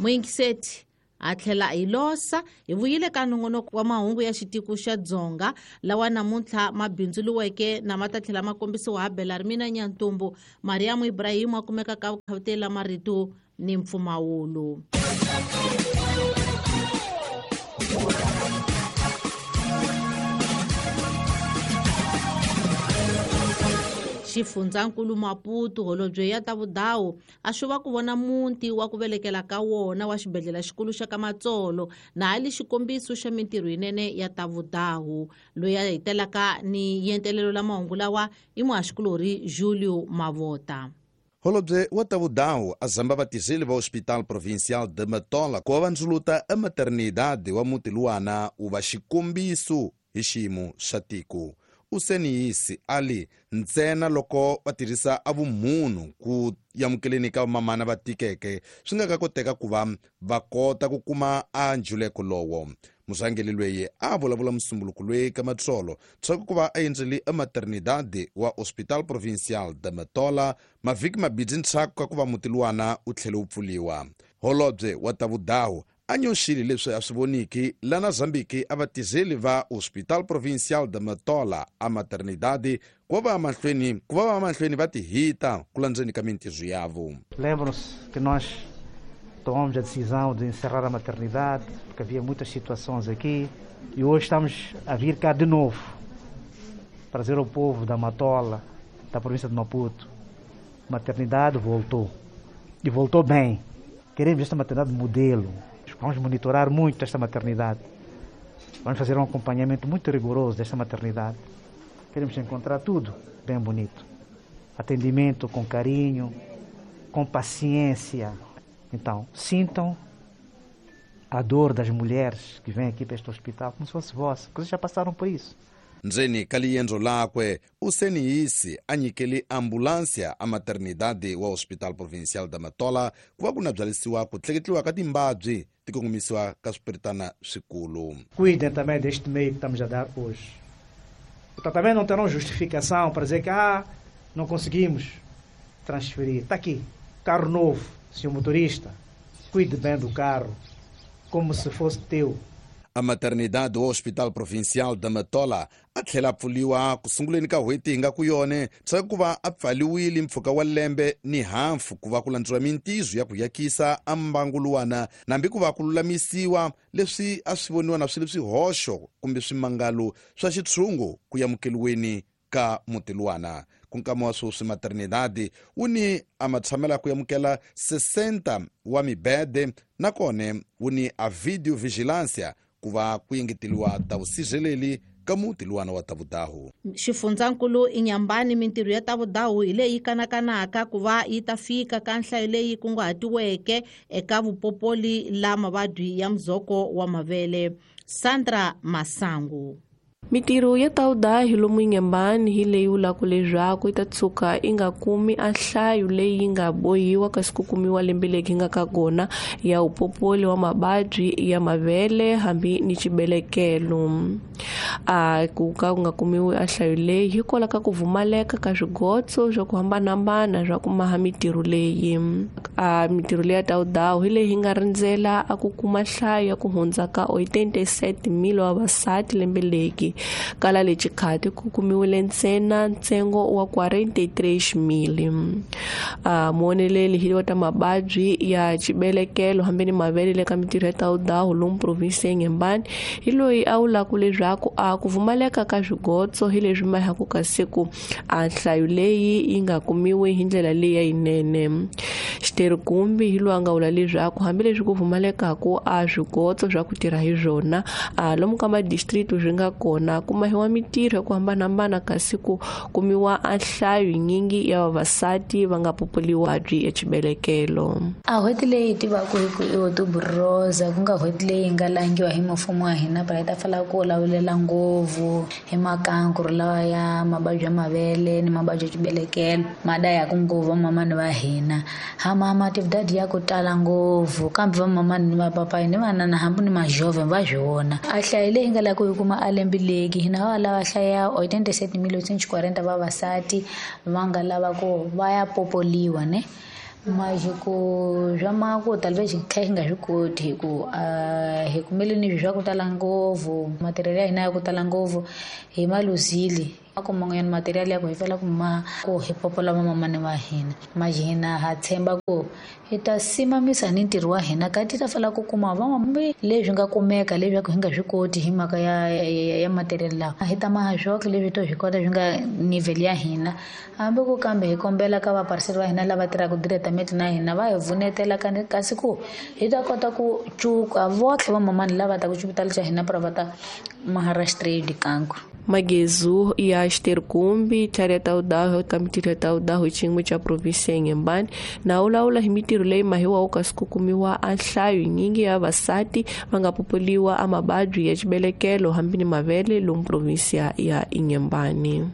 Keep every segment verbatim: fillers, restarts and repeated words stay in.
Muyingiseti a tlhela hi losa hi vuyile ka nongonoko wa mahungu ya xitiko xa Dzonga lawa namuntlha ma bindzuluweke na ma ta tlhela ma kombisiwa ha Belarmina Nyantumbu. Mariam Ibrahim a kumeka ka vukhavutela marito ni mpfumawulo. Xifundzankulu Maputo holobye ya ta vudawu a swi va ku vona muti wa ku velekela ka wona wa xibedhlele xikulu xa ka Matsolo na ali xikombiso xa mintirho yinene ya ta vudawu. Loyi a hetelaka ni yentelelo la mahungu lawa i muhaxikulorhi Julio Mavota. Holobye wa ta vudawu a zamba vatirheli va Hospital Provincial de Matola ku va va ndzuluta a maternidade wa muti luwana wu va xikombiso hi xiyimo xa tiko. Useniyisi ali ntsena loko va tirhisa a vumunhu ku yamukeleni ka vamamana va tikeke swi nga ka koteka ku va va kota ku kuma a njuleko lowo. Murhangeri loyi a vulavula musumbuluko loyi ka Matsolo tshaku ku va a endzele a maternidade wa Hospital Provincial de Matola mavhiki mabidzi ntshaku ka ku va muti luwana wu tlhele wu pfuliwa. Holobye wa ta vudawu a nyoxile leswi a swi voniki lana Zambiki a vatirheli va Hospital Provincial de Matola a maternidade ku va mahlweni ku va mahlweni va tihita ku landzeni ka mintirho yavo. Lembram-se que nós tomamos a decisão de encerrar a maternidade porque havia muitas situações aqui e hoje estamos a vir cá de novo para dizer ao povo da Matola, da província de Maputo, a maternidade voltou e voltou bem. Queremos esta maternidade modelo. Vamos monitorar muito esta maternidade. Vamos fazer um acompanhamento muito rigoroso desta maternidade. Queremos encontrar tudo bem bonito. Atendimento com carinho, com paciência. Então, sintam a dor das mulheres que vêm aqui para este hospital como se fosse vossa, porque vocês já passaram por isso. Ndzeni ka liendzo lakwe useniyisi a nyikele ambulance a maternidade wa Hospital Provincial da Matola ku va ku na byalisiwa ku tleketliwa ka timbabyi ti kongomisiwa ka swipiritana swikulu. Cuidem também deste meio que estamos a dar hoje. Então, também não terão justificação para dizer que ah, não conseguimos transferir. Está aqui, carro novo, senhor motorista, cuide bem do carro, como se fosse teu. A maternidade do Hospital Provincial da Matola a tlhela pfuliwa ku sunguleni ka n'hweti hi nga ku yone tsaka ku va a pfaliwile mpfhuka wa lembe ni hafu ku va ku landziwa mintirho ya ku yakisa a mbangu luwana nambi ku va ku lulamisiwa leswi a swi voniwa na swilo swihoxo kumbe swimangalo swa xitshungu ku yamukeliweni ka muti luwana. Ku nkama wa sweswi maternidade wu ni a matshamela ku yamukela sessenta wa mibede nakone wu ni a video vigilancia ku va ku yengeteliwa ta vusirheleli ka muti luwana wa ta vudahu. Xifundzankulu Inyambani mintirho ya ta vudahu hi leyi kanakanaka ku va yi ta fika ka nhlayo leyi kunguhatiweke eka vupopoli la mavabyi ya muzoko wa mavele. Sandra Masangu. Mintirho ya ta vudahi lomu Inyambani hi leyi vulaka leswaku yi ta tshuka yi nga kumi a nhlayo leyi yi nga bohiwa kasi ku kumiwa lembe leri nga ka kona ya vupopoli wa mavabyi ya mavele hambi ni xibelekelo. A ku ka ku nga kumiwi a nhlayo leyi hikwalaho ka ku pfumaleka ka swigotso swa ku hambanahambana swa ku maha mintirho leyi. A mintirho leyi ya ta vudahi hi leyi yi nga rindzela a ku kuma nhlayo ya ku hundza ka oitenta e sete mil wa vavasati lembe leri. Kala le xikhati ku kumiwile ntsena ntsengo wa quarenta e três mil. A muoneleli hi wa ta mavabyi ya xibelekelo hambi ni mavele le ka mintirho ya ta vudahu lomu provinsi ya Inhambane hi loyi a vulaka leswaku a ku pfumaleka ka swigotso hi leswi mahaku ka siku a nhlayo leyi yi nga kumiwi hi ndlela leyi ya yinene. Xiterhikumbi hi loyi a nga vula leswaku hambileswi ku pfumalekaku a swigotso swa ku tirha hi swona a lomu ka madistrict swi nga kona ku mahiwa mintirho ya ku hambanahambana kasi ku kumiwa a nhlayo yinyingi ya vavasati va nga populiwa byi ya xibelekelo. A n'hweti leyi hi tivaka hi ku i Outubro Rosa ku nga n'hweti leyi nga langiwa hi mfumo wa hina para hi ta fala ku lawulela ngopfu hi makankuru lawa ya mavabyi ya mavele ni mavabyi ya xibelekelo ma dayaka ngopfu vamamani va hina. Hama matividadi ya ku tala ngopfu kambe vamamani ni vapapayi ni vanana hambi ni majovhe va swi vona. A nhlayo leyi nga lava ku yi kuma a lembe leki hina va lava hlaya oitenta e sete mil oitocentos e quarenta vavasati va nga lava ku va ya popoliwa ne Mas ku swa mako talvez kha hi nga swi koti hi ku hi kumele ni swa ku tala ngopfu material ya hina ya ku tala ngopfu hi maluzile ako man'wanyana material ya ku hi fela ku ma ku hi popola vamamani va hina mas hina ha tshemba ku hi ta simamisa ni ntirho wa hina kati ta fela ku kuma van'wambe leswi nga kumeka leswaku hi nga swi koti hi mhaka ya ya, ya material lawa hi ta maha swoxe leswi to swi kota swi nga nivel ya hina hambi ku kambe hi kombela ka vaparseri va hina lava tirhaka diretamente na hina va hi vunetela kasi ku hi ta kota ku cuka votlhe vamamani lava ta ku xipitali xa hina para va ta Maharashtra dikanku. Magezu ya Xiterkumbi tlhari ya Taudaho ka mitirho ya Taudaho xin'we xa provinsi ya Inhambane na wulawula hi mitirho leyi mahiwaho kasi ku kumiwa a nhlayo nyingi ya vavasati va nga popoliwa a mavabyi ya xibelekelo hambi ni mavele lomu provinsi ya Inhambane.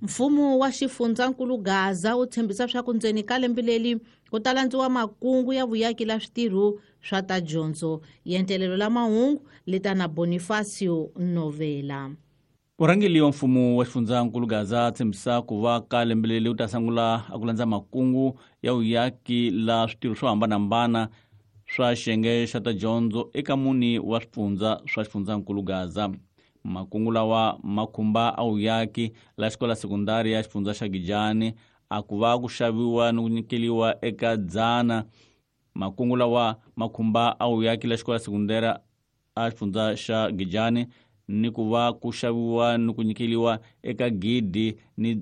Mfumo wa xifundzankulu Gaza wu tshembisa swa ku ndzeni ka lembe leri ku ta landziwa makungu ya vuyaki la switirho swa ta dyondzo. Yentelelo la mahungu leta na Bonifacio Novela. Murhangeri wa mfumo wa xifundzankulu Gaza tshembisa ku va ka lembe leri wu ta sungula a ku landza makungu ya vuyaki la switirho swo hambanahambana swa xiyenge xa ta dyondzo eka mune wa swifundza swa xifundzankulu Gaza. Makungu lawa ma khumba a vuyaki la xikola sekundari ya xifundza xa Gijani a ku va ku xaviwa ni ku nyikeliwa eka dzana. Makungu lawa ma khumba a vuyaki la xikola sekundari a xifundza xa Gijani ni ku va ku xaviwa ni ku nyikeliwa eka gidi ni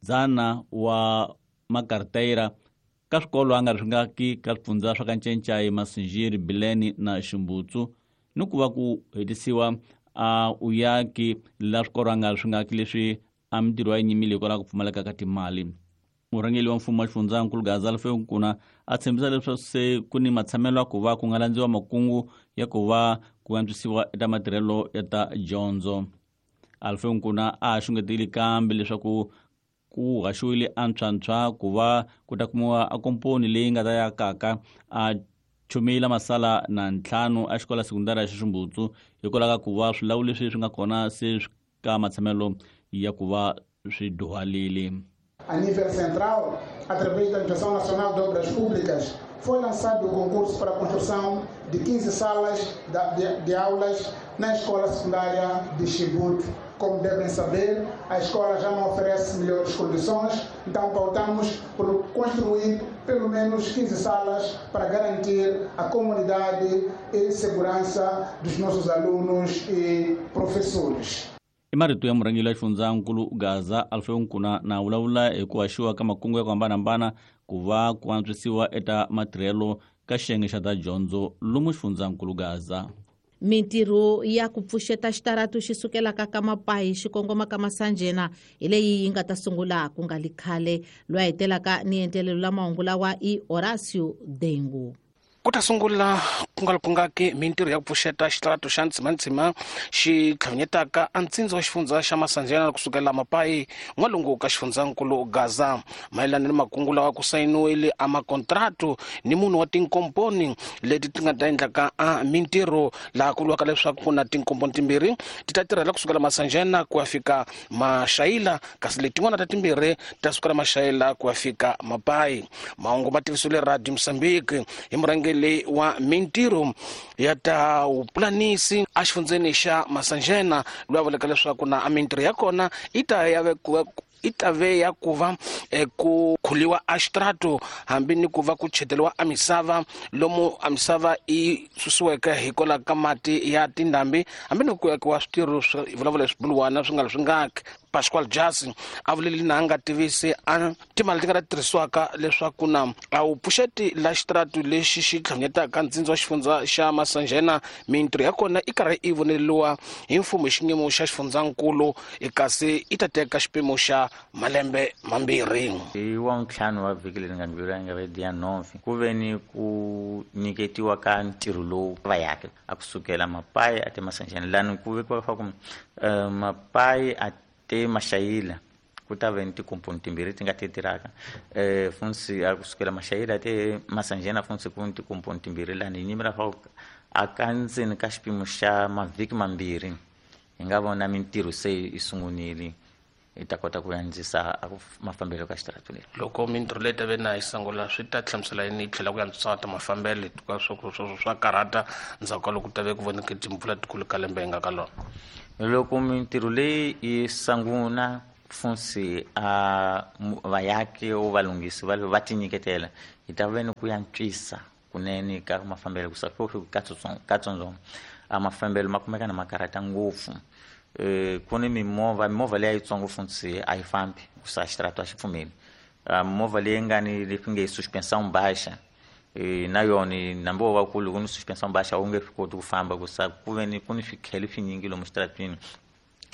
dzana wa makarteyira ka swikolo a nga ri swi nga ki ka swifundza swa Kanchenchai, Masinjiri, Bileni na Ximbutsu ni ku va ku hetisiwa a uyaki la swikolo a nga ri swi nga ki leswi a mitirho ya nyimile hikwalaho ku pfumaleka ka timali. Murhangeri wa mfumo wa xifundzankulu Gaza Alfeo Nkuna a tshembisa leswaku se ku ni matshamelo ya ku va ku nga landziwa makungu ya ku va ku antswisiwa eka matirhelo ya ta dyondzo. Alfeo Nkuna a xungetile kambe leswaku ku haxiwile antshwantshwa ku va ku ta kumiwa a komponi leyi nga ta ya kaka a chumile masala na ntlhanu a xikola sekundari ya Ximbutsu hikwalaho ka ku va swilawu leswi swi nga kona se ka matshamelo ya ku va swi duhalile. A nível central, através da Administração Nacional de Obras Públicas, foi lançado o concurso para a construção de quinze salas de, de aulas na escola secundária de Chibuto. Como devem saber, a escola já não oferece melhores condições, então pautamos por construir pelo menos quinze salas para garantir a comunidade e segurança dos nossos alunos e professores. I marito ya murhangeri wa xifundzankulu Gaza Alfeo Nkuna na vulavula hi ku haxiwa ka makungu ya ku hambanahambana ku va ku antswisiwa eka matirhelo ka xiyenge xa ta dyondzo lomu xifundzankulu Gaza. Mintirho ya ku pfuxeta xitaratu xi sukelaka ka Mapayi xi kongoma ka Masanjena hi leyi yi nga ta sungula ku nga li khale. Loyi a hetelaka ni entelelo la mahungu lawa i Horacio Dengu. Ku ta sungula ku nga ri kungaki mintirho ya ku pfuxeta xitaratu xa Ntsimantsima xi tlhavinyetaka a ntsindza wa xifundza xa Masanjena kusukela Mapayi n'walungu ka xifundzankulu Gaza. Mayelana ni makungu lawa ku sayiniwile a makontratu ni munhu wa tinkomponi leti ti nga ta endlaka a mintirho laha ku vuriwaka leswaku ku na tinkomponi timbirhi ti ta tirhela kusukela Masanjena ku ya fika Maxayila kasi letin'wana ta timbirhi ta sukela Maxayila ku ya fika Mapayi. Mahungu ma tivisiwile Radio Mozambique hi murhangeri wa mintirho ya ta vupulanisi exifundzeni xa Masanjena loyi a vulaka leswaku na mintirho ya kona i ta ya vekiwa i ta ve ya ku va ku khuliwa a xitrato hambi ni ku va ku cheteriwa a misava lomu a misava i susiweke hikwalaho ka mati ya tindhambi hambi ni ku akiwa switirho swa vulavula swibuluwana swi nga ri swi ngaki. Pascual Jasi a vuleli na nga tivisi a timali ti nga ta tirhisiwaka leswaku na a wu pfuxeti la xitratu lexi xi tlhanyetaka ntsindza wa xifundza xa Masanjena mintirho ya kona i karhi i voneriwa hi mfumo hi xiyimo xa xifundzankulu kasi i ta teka xipimo xa malembe mambirhi. Hi wa ntlhanu wa vhiki leri nga ndlula nga ve dia nove ku ve ni ku nyiketiwa ka ntirho lowu va yake a kusukela Mapayi a te Masanjena lani ku vekiwa fa ku Mapayi a te Maxayila ku ta ve ni tikomponi timbirhi ti nga ti tirhaka eh funsi a kusukela Maxayila te Masanjena funsi ku ni tikomponi timbirhi lani hi nyimela fa a ka ndzeni ka xipimo xa mavhiki mambirhi hi nga vona mintirho se yi sungunile hi ta kota ku andzisa mafambelo ka xitaratu lexi. Loko mintirho leyi ta ve na yi sungula swi ta hlamusela yini yi tlhela ku antswisa ta mafambelo hikuva swo swo swa karhata ndzhaku ka loko ku ta ve ku voneke timpfula tikulu ka lembe hi nga ka lona. Loko mintirho leyi yi sungula funsi a vayaki o valunghisi va va tinyiketela hi ta ve ni ku antswisa kunene ka mafambelo ku katsongo a mafambelo ma kumeka na ma karhata ngopfu. Ku ni mimovha mimovha leyi yitsongo funtsi a yi fambi ku sa xitaratu a xi pfumeli. Movha leyi nga ni leswi nge suspension baixa na yona nambi wo va kulu ku ni suspension baixa wu nge swi koti ku famba ku sa ku ve ni ku ni swikhele swinyingi lomu xitaratwini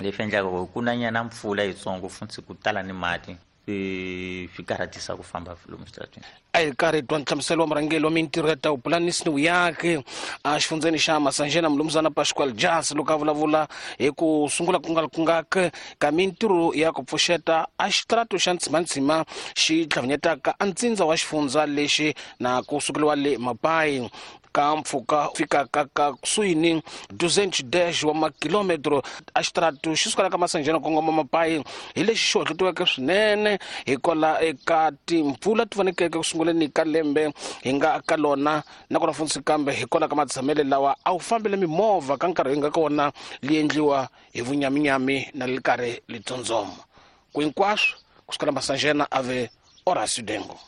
leswi endlaka ku ku na nyana mpfula yitsongo funtsi ku tala ni mati swi karhatisa ku famba lomu xitaratwini. A hi karhi twa nhlamuselo wa murhangeri wa mintirho ya ta vupulanisi ni vuyaki a xifundzeni xa Masanjena Mlumzana Pascual Jas loko a vulavula hi ku sungula ku nga ku nga ka mintirho ya ku pfuxeta a xitaratu xa Ntsimantsima xi tlhavinyetaka a ntsindza wa xifundza lexi na ku sukeliwa le Mapai ka mpfhuka fikaka ka kusuhi ni duzentos dez wa makilometro a xitaratu xi sukela ka Masanjena kongoma Mapai hi lexi xi hohlotiweke swinene hikwalaho eka timpfula ti vonekeke ku sunguleni ka lembe hi nga ka lona nakona funtsi kambe hikwalaho ka matshamele lawa a wu fambile mimovha ka nkarhi hi nga ka wona li endliwa hi vunyaminyami na li karhi li tsondzoma ku hinkwaswo ku sukela Masanjena a ve Horacio Dengo.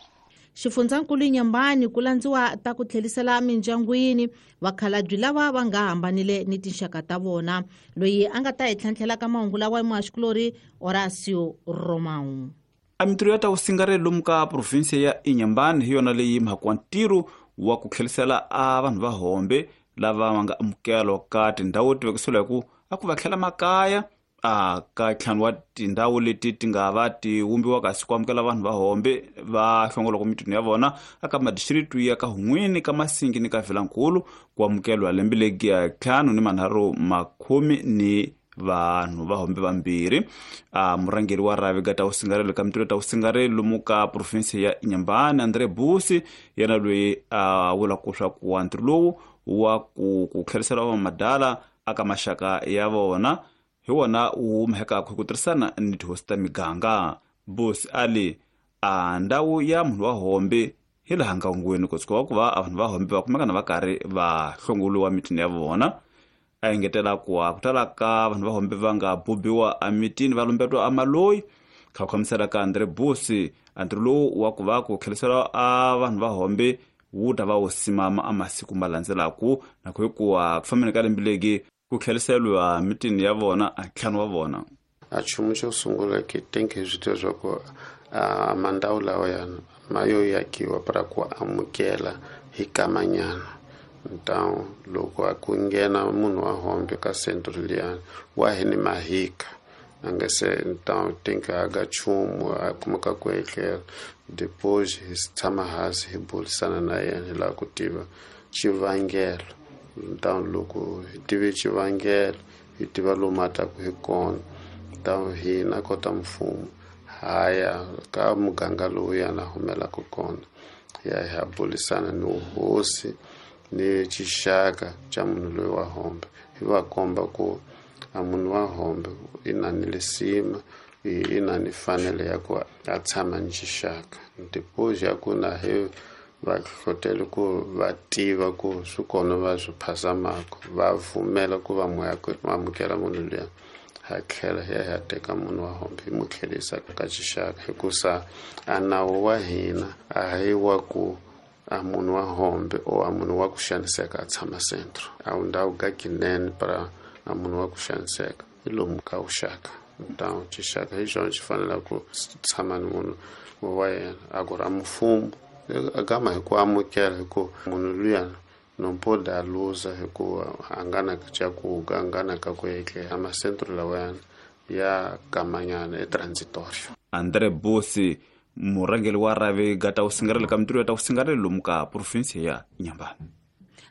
Xifundzankulu Inhambane ku landziwa ta ku tlhelisela mindyangwini vakhalabye lava va nga hambanile ni tinxaka ta vona. Loyi a nga ta hi tlhantlhela ka mahungu lawa i muhaxikulori Horacio Romão. A mintirho ya ta vusingareli lomu ka provinsia ya Inhambane hi yona leyi mhaka wa ntirho wa ku tlhelisela a vanhu va hombe lava va nga amukelwa ka tindhawu ti vekisiwa hi ku a ku va tlhela makaya a ka ntlhanu wa tindhawu leti ti nga va ti vumbiwa kasi ku amukela vanhu va hombe va hlongolaka mitini ya vona aka madistricts ya ka Hun'wini ka Masingi ni ka Vilankulu ku amukeliwa lembe legi ya ntlhanu ni manharhu makhume ni vanhu va hombe vambirhi. A murhangeri wa rhavi ka ta vusingareli ka mintirho ta vusingareli lomu ka province ya Inhambane André Busi yena loyi a vulaka swa ku ntirho lowu wa ku ku tlherisela vamadala aka maxaka ya vona hi wona wu humekaka hi ku tirhisana ni tihosi ta miganga. Busi ali a ndhawu ya munhu wa hombe hi laha ngangweni ku tshuka ku va vanhu va hombe va kumeka na va karhi va hlongoliwa mitini ya vona. A engetela ku ku tala ka vanhu va hombe va nga bubiwa emitini va lumbetiwa amaloyi. Kha khamisela ka André Busi ntirho lowu wa ku va ku tlherisela a vanhu va hombe wu ta va wu simama a masiku ma landzelaku na ku hikuva ku fambeni ka lembe legi ku tlheriseriwa mitini ya vona a ntlhanu wa vona. A nchumu xo sungula ke tenke swi tiva swa ku a mandhawu lawa yana ma yo yakiwa para ku amukela hi kamanyana. Então loko a ku nghena munhu wa hombe ka centro liyani wa hi ni mahika a nga se então tem que aga nchumu a kumeka ku etlela depois hi tshama hansi hi burisana na yena hi lava ku tiva xivangelo. Então loko hi tive xivangelo hi tiva lomu a taku hi kona então hina kota mfumo haya ka muganga lowu yana humelaka kona hi ya hi ya burisana ni hosi ni xixaka xa munhu loyi wa hombe hi va komba ku a munhu wa hombe i na ni lisima i na ni fanele ya ku a tshama ni xixaka. Depois ya ku na hi va hlohlotela ku va tiva ku swi kona va swi phasamaka va pfumela ku va amukela munhu luya ha tlhela hi ya hi ya teka munhu wa hombe hi mu tlherisa ka xixaka hikusa a nawu wa hina a hi wa ku a munhu wa hombe o a munhu wa ku xaniseka a tshama centro a wu ndhawu ka kinene para a munhu wa ku xaniseka hi lomu ka vuxaka. Então xixaka hi xona xi faneleke ku tshama ni munhu wa yena a ku ra mfumo agama hi ku amukela hi ku munhu luya não pode a luza hi ku a nga na xa ku a nga na ka ku etlela macentro lawayana ya kamanyana e transitorio. André Busi murhangeri wa rhavi ga ta vusingareli ka mintirho ya ta vusingareli lomu ka province ya Inhambane.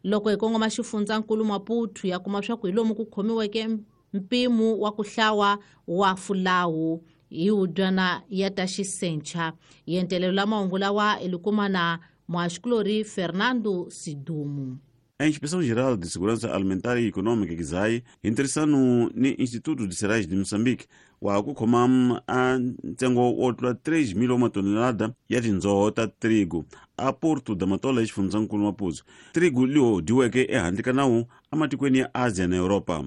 Loko hi kongoma xifundzankulu Maputo ya kuma swa ku hi lomu ku khomiweke mpimo wa ku hlawa wa fulawu hi wudyana ya ta xisencha. Yentelelo la mahungu lawa i likuma na muhaxikulori Fernando Sidumu. A Inspeção Geral de Segurança Alimentar e Econômica, GISAE, hi ntirhisano ni Instituto de Cereais de Moçambique, wa ku khoma a ntsengo wo tlula três mil wa matonelada ya tindzoho ta trigo a Porto da Matola exifundzhankulu Maputo. Trigo liwo dyiweke ehandle ka nawu ematikweni ya Asia na Europa.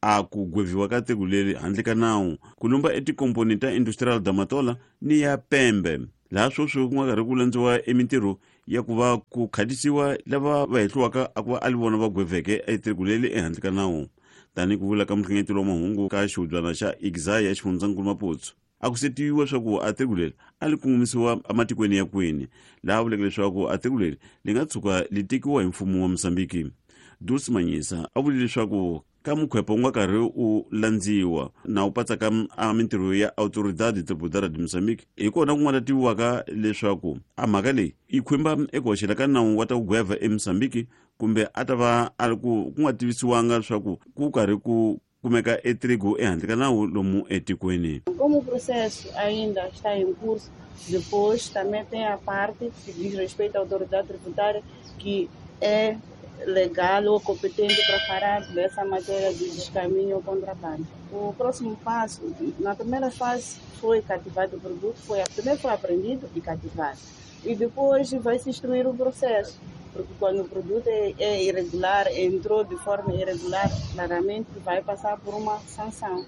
A ku gweviwa ka trigo leri handle ka nawu ku lumba etikomponi ta Industrial da Matola ni ya Pembe, laha sweswi ku nga karhi ku landziwa emintirho ya ku va ku khatisiwa lava va hehliwaka a ku va a li vona va gweveke etrigo leri ehandle ka nawu. Tanihi ku vula ka muhlengeteli wa mahungu ka xihubyana xa I G S A I ya xifundzankulu Maputo, a ku setiwa leswaku a trigo leri a li kongomisiwa ematikweni ya kwini, laha vuleke leswaku a trigo leri li nga tshuka li tekiwa hi mfumo wa Mozambique. Dulce Manyisa a vule leswaku ka mukhwepo wu nga karhi u landziwa na wu patsaka a mintirho ya Autoridade Tributária de Moçambique, hi kona ku nga ta tiviwaka leswaku a mhaka leyi yi khumba eku hoxela ka nawu wa ta ku gweva eMozambique, kumbe a ta va a ri ku ku nga tivisiwanga leswaku ku karhi ku kumeka etrigo ehandle ka nawu lomu etikweni. Como o processo ainda está em curso, depois também tem a parte que diz respeito à autoridade tributária, que é legal ou competente para falar dessa matéria de descaminho ou contrabando. O próximo passo, na primeira fase foi cativado o produto, foi, primeiro foi apreendido e cativado. E depois vai se instruir o processo, porque quando o produto é, é irregular, entrou de forma irregular, claramente vai passar por uma sanção.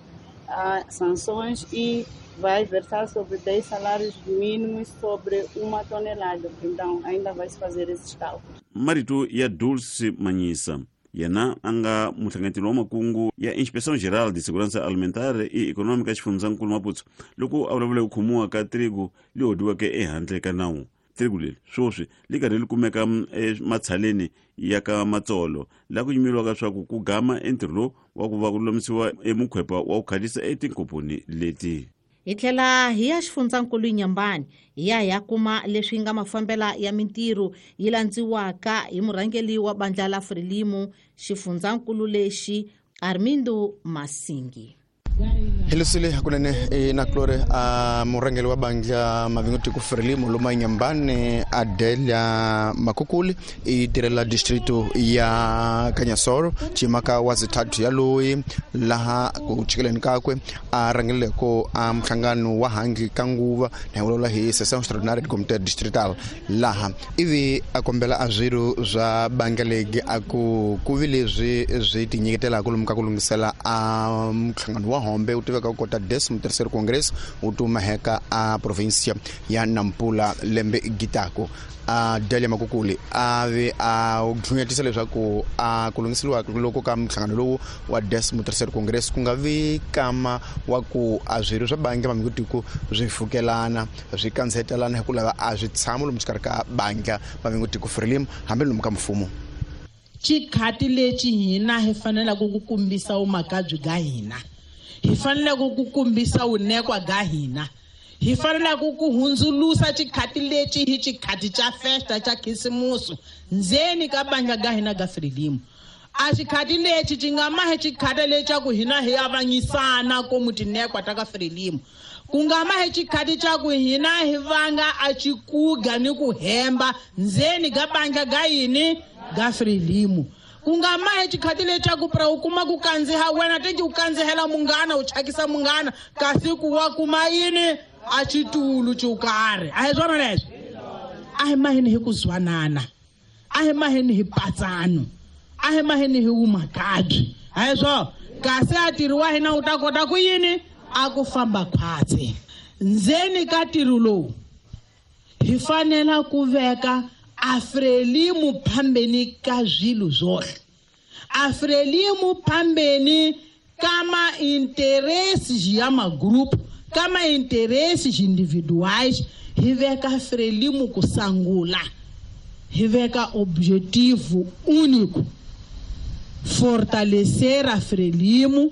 Há sanções e vai versar sobre dez salários mínimos sobre uma tonelada. Então, ainda vai se fazer esses cálculos. Marito ya Dulce Manyisa, yena a nga muhlangeteli wa makungu ya Inspeção Geral de Segurança Alimentar e Econômica xifundzankulu Maputo, loko a vulavula ku khomiwa ka trigo li hodiweke ehandle ka nawu. Trigo leri sweswi li karhi li kumeka ematshaleni ya ka Matsolo, laha ku yimeriwaka leswaku ku gama entirho lowu wa ku va ku lulamisiwa emukhwepa wa ku khalisa etinkomponi leti. Hi tlhela hi ya xifundzankulu Inhambane, hi ya hi ya kuma leswi nga mafambela ya mintirho yi landziwaka hi murhangeri wa bandla la Frelimo xifundzankulu lexi Armindo Masingi. Helusile hakunene e na Clore a murhangeri wa bandla Mavingo Frelimo loma Inhambane Adelia Makukuli i tirhela distrito ya Kanyasoro chimaka wa zithathu ya loyi laha ku chikeleni kakwe a rhangeleko a mhlangano wa hangi ka nguva na vulavula hi session extraordinaire de comité distrital laha ivi a kombela a swirho swa bandla legi a ku ku vi leswi swi tinyiketelaka lomu ka ku lunghisela a mhlangano wa hombe u tiveka ku kota décimo terceiro congresso wu tumaheka a província ya Nampula lembe gitako. A Delia Makukuli a ve a dlunyatisa leswaku a ku lunghiseriwa loko ka mhlangano lowu wa décimo terceiro congresso ku nga vi kama wa ku a swirho swa bandla Mavingo swi fukelana swi kansetelana hi ku lava a swi tshama lomu xikarhi ka bandla Mavingo Frelimo hambi lomu ka mfumo. Xikhati lexi hina hi faneleke ku kombisa vumakabyi bya hina, hi faneleke ku kombisa vunekwa bya hina, hi faneleke ku hundzulusa xikhati lexi hi xikhati xa festa xa khisimusi ndzeni ka bandla ga hina ga Frelimo. A xikhati lexi xi nga mahi xikhati lexa ku hina hi avanyisana komu tinekwa ta ka Frelimo, ku nga mahi xikhati xa ku hina hi vanga a xikuga ni ku hemba ndzeni ka bandla ga yini ga Frelimo. Ku nga mahi xikhati lexaku pra u kuma ku kandziha wena tenji u kandzihela munghana u chakisa munghana kasi ku wa kuma yini a xitulu xo karhi. A hi swona leswi? A hi maheni hi ku zwanana, a hi maheni hi patsano, a hi maheni hi vumakabyi. A hi swona? Kasi a ntirho wa hina wu ta kota ku yini a ku famba khwatsi. Ndzeni ka ntirho lowu hi fanela ku veka a Frelimo phambeni ka swilo zwohle, a Frelimo phambeni ka ma-interesses ya ma-group, ka ma-interesses individuais. Hi veka Frelimo ku sangula, hi veka objetivo único: fortalecer a Frelimo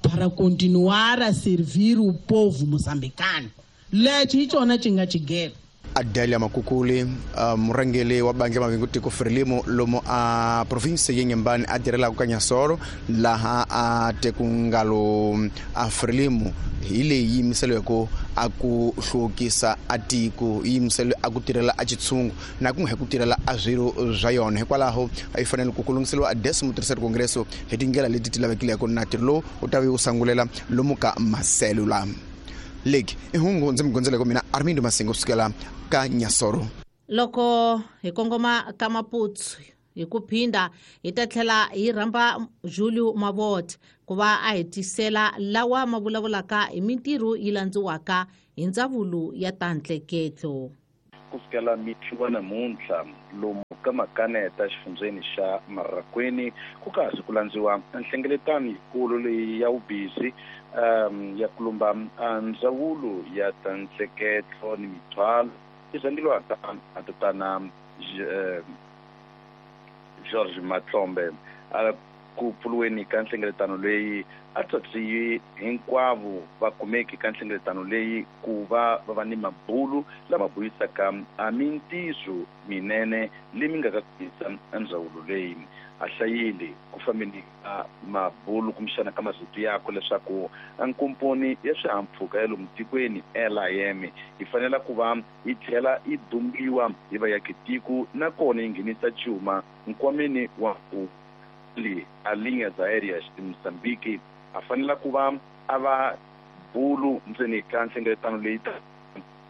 para continuar a servir o povo moçambicano. Lexi hi xona xi nga xigelo. Adelia Makukuli uh, murhangeri wa bandla Mavingo Tiko Frelimo lomo a province ya Inhambane a tirhelaka ka Nyasoro laha a tekungalo a Frelimo hi leyi yimiseliweke a ku hluvukisa a tiko yi yimiseliwe a ku tirhela a xitshungu na ku nga ku tirhela a swirho swa yona. Hikwalaho a yi fanele ku ku lunghiseriwa a décimo terceiro congresso hi tindlela leti ti lavekileke na ntirho lowu wu ta va wu sangulela lomu ka maselula. Leki i hungu ndzi mi gondzeleke mina Armindo Masingo kusukela ka Nyasoro. Loko hi kongoma ka Maputo hi ku phinda hi ta tlhela hi rhamba Julio Mavot ku va a hi tisela lawa ma vulavulaka hi mintirho yi landziwaka hi ndzawulo ya ta ntleketlo. Kusukela mixo wa namuntlha lomu ka Makaneta xifundzeni xa Marraquene ku kasi ku landziwa nhlengeletano yikulu leyi ya vubizi um ya kulumba ndzawulo ya ta ntleketlo ni mithwalo yi rhangeriwaka a tatana George Matlombe. Ku pfuriweni ka nhlengeletano leyi a tswatsiwi hinkwavo va kumeki ka nhlengeletano leyi ku va va va ni mabulu lama buyisaka a mintiso minene leyi nga ka kuyisa ndzawulo leyi. A hlayile ku fambeni ka mabulu kumbexana ka masiku yakwe leswaku nkomponi ya swihahampfhuka ya lomu tikweni L I M yi fanela ku va yi tlhela yi dumbiwa hi vaakatiko nakona yi nghenisa cuma nkwameni wa ku a Linhas Aéreas de Moçambique a fanela ku va a va bulu ndzeni ka nhlengeletano leyi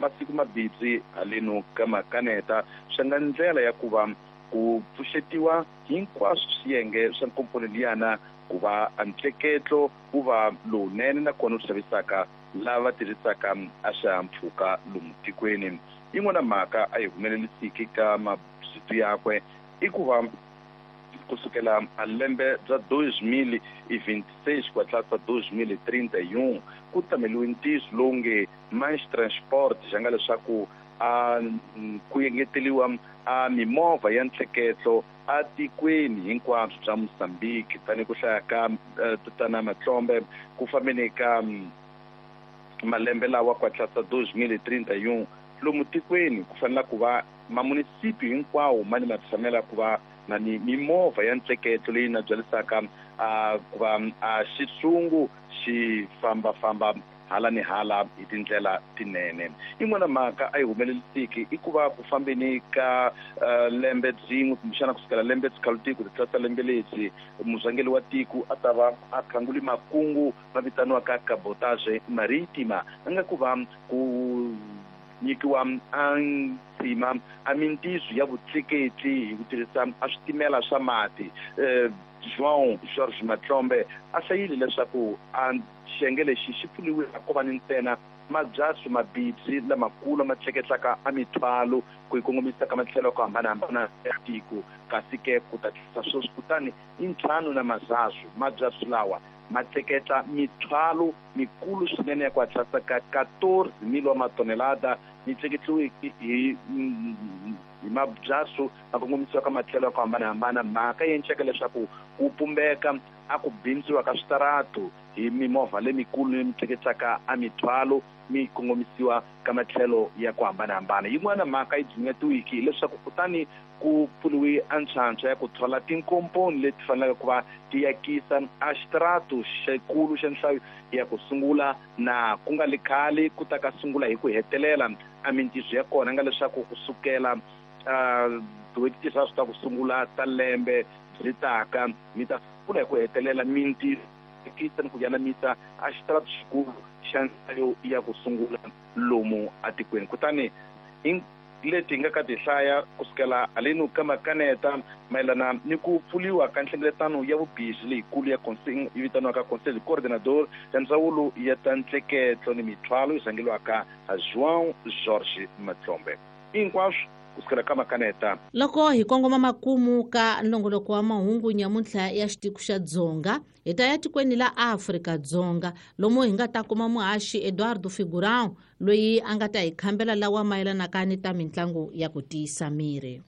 masiku mabitsi haleno ka Makaneta swi nga ndlela ya ku va ku pfuxetiwa hinkwaswo swiyenge swa nkomponi liyana ku va ntleketlo wu va lowunene nakona wu xavisaka lava tirhisaka a swihahampfhuka lomu tikweni. Yin'wana mhaka a yi humelelisiki ka masiku yakwe i ku va kusukela a lembe bya dois mil e vinte e seis ku tlasa dois mil e trinta e um ku tameliwe ntiyiso lowu nge mais transport xa nga leswaku a ku engeteliwa a mimovha ya ntleketlo a tikweni hinkwabyo bya Mozambique tanihi ku hlaya ka tatana Matlombe ku fambeni ka malembe lawa ku tlasa dois mil e trinta e um lomu tikweni ku fanela ku va mamunisipi hinkwawo ma ni ma tshamela ku va na ni mimovha ya ntleketlo leyi na byalisaka a ku va a xitshungu xi fambafamba hala ni hala hi tindlela tinene. Yin'wana mhaka a yi humelelisiki i ku va ku fambeni ka lembe byin'we kumbexana kusukela lembe tsikhalutiko ti tlasa lembe lebyi murhangeri wa tiko a ta va a khanguli makungu ma vitaniwaka cabotage maritima a nga ku va ku nyikiwa a ntsima a mintiso ya vutleketli hi ku tirhisa a switimela swa mati. João Jorge Matlombe a hlayile leswaku a xiyenge lexi xi pfuriwile a ko va ni ntsena mabyatso mabibyi lamakulu ma tleketlaka a mithwalo ku yi kongomisa ka matlhelo ya ku hambanahambana ya tiko kasi ke ku ta tlisa sweswi kutani i ntlhanu na mazazu mabyatso lawa ma tleketla mithwalo mikulu swinene ya ku hatlisa ka quatorze mil wa matonelada yi tleketliweke hi hi mabyatso ma kongomisiwa ka matlhelo ya ku hambanahambana. Mhaka yi enceka leswaku ku pumbeka a ku bindziwa ka switarato hi mimovha lemikulu leyi tleketlaka a mithwalo mi kongomisiwa ka matlhelo ya ku hambanahambana. Yin'wana mhaka yi dzunyetiwiki hileswaku kutani ku pfuriwe a ntlhantlha ya ku thola tinkomponi leti faneleke ku va ti yakisa a xitarato xikulu xa nhlayo ya ku sungula na ku nga li khale ku ta ka sungula hi ku hetelela a mintiso ya kona nga leswaku kusukela tin'hweti tinharhu ta ku sungula ta lembe byi taka mi ta sungula hi ku hetelela mintirho ni ku yanamisa a xitarato xikulu xa nhlayo ya ku sungula lomu atikweni. Kutani leti hi nga ka ti hlaya kusukela haleni ka Makaneta mayelana ni ku pfuriwa ka nhlengeletano ya vubizi leyikulu ya yi vitaniwaka Conselho Coordenador ya ndzawulo ya ta ntleketlo ni mithwalo yi rhangeriwaka João Jorge Matlombe. Hinkwaswo kusukela ka Makaneta. Loko hi kongoma makumu ka nongoloko wa mahungu nyamuntlha ya xitiko xa Dzonga hi ta ya tikweni la Afrika-Dzonga lomu hi nga ta kuma muhaxi Eduardo Figurão loyi a nga ta hi khambela lawa mayelanaka ni ta mitlangu ya ku tiyisa miri.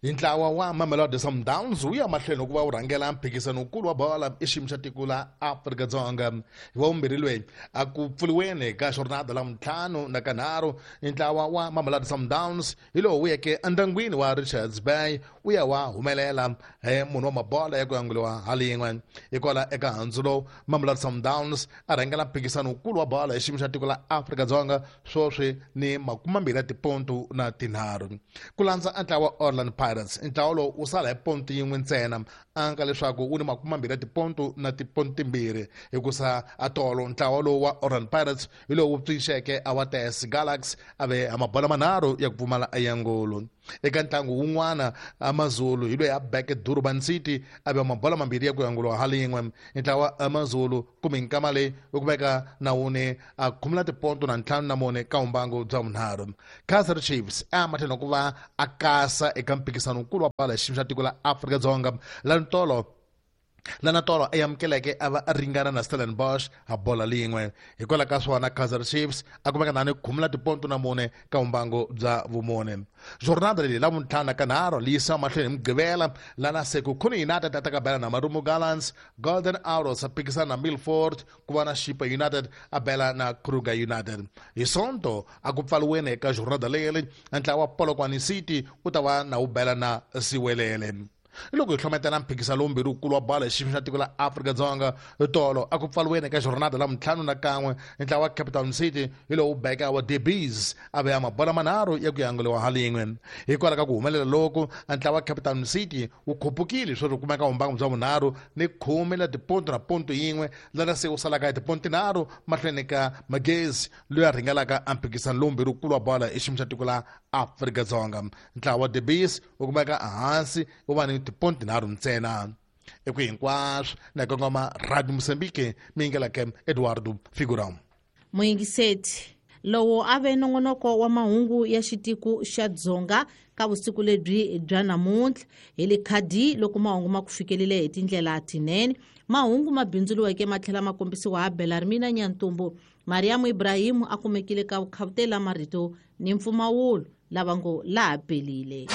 Ntlawa wa Mamelodi Sundowns wu ya mahlweni ku va wu rhangela mphikizano wukulu wa bola exiyimo xa tiko la Afrika-Dzonga. Hi wa vumbirhi loyi a ku pfuriweni ka jornada la ntlhanu na kanharhu, ntlawa wa Mamelodi Sundowns hi lowu wu yeke endyangwini wa Richards Bay wu ya wa humelela hi munhu wa mabola ya ku yanguliwa halin'we. Hikwala eka handzu lowu Mamelodi Sundowns a rhangela mphikizano wukulu wa bola exiyimo xa tiko la Afrika-Dzonga sweswi ni makumambirhi ya tipontu na tinharhu. Ku landza ntlawa wa Orlando Pirates, ntlawa lowu wu sala hi pontu yin'we ntsena anka leswaku wu ni makumambirhi ya tipontu na tipontu timbirhi, hikusa atolo ntlawa lowu wa Orlando Pirates hi lowu wu pfixeke a wa T S Galaxy a ve a mabola manharhu ya ku pfumala eyangulu. Eka ntlangu wun'wana AmaZulu hi loyi a beke Durban City a ve mabola mambirhi ya ku yanguliwa halin'we. Ntlawa AmaZulu kumbe nkama leyi wu kumeka na wune a khumula tipontu na ntlhanu na mune ka vumbangu bya vunharhu. Kaizer Chiefs a matlhelo ku va a kasa eka mphikizano wukulu wa bola xiyimo xa tiko la Afrika-Dzonga la ntolo lana tolo a amukeleke a va a ringana na Stellenbosch a bola lin'we. Hikwalaho ka swona Kaizer Chiefs a kumeka na ni khumula tipontu na mune ka vumbangu bya vumune. Jornada leyi la vuntlhanu na kanharhu leyi yisiwa mahlweni hi Mugqivela lana Sekhukhune United a ta ka bela na Marumo Gallants, Golden Arrows a phikisana na Milford, ku va na Chippa United a bela na Kruger United. Hi Sonto a ku pfaliweni eka jornada leyi ntlawa wa Polokwane City wu ta va na wu bela na Siwelele. Loko hi hlometela mphikizano lowumbirhi wukulu wa bola hi xiyimo xa tiko la Afrika-Dzonga tolo a ku pfaliweni eka jornada la ntlhanu na kan'we, ntlawa wa Cape Town City hi lowu beka wa Debees a veya mabola manharhu ya ku yanguliwa halin'we. Hikwalaho ka ku humelela loku ntlawa wa Cape Town City wu khupukile sweswi kumeka vumbangu bya vunharhu ni khume la tipontu na pontu yin'we, lana se wu salaka hi tipontu tinharhu mahlweni ka Magezi loyi a rhangelaka a mphikizano lowumbirhi wukulu wa bola hi xiyimo xa tiko la Afrika-Dzonga. Ntlawa wa Debees wu kumeka ehansi wu va ni tipontu tinharhu ntsena. Eku hinkwaswo na kongoma Radio Mozambique miyingelake Eduardo Figurão. Muyingiseti lowo a ve nongonoko wa mahungu ya xitiko xa Dzonga ka vusiku lebyi bya namuntlha hi le khadi loko mahungu ma ku fikelele hi tindlela tinene. Mahungu ma bindzuriweke ma tlhela ma kombisiwa ha Belarmina Nyantumbu. Mariamu Ibrahimu a kumekile ka vukhavutela marito ni mpfumawulo lava ngo laha pelile.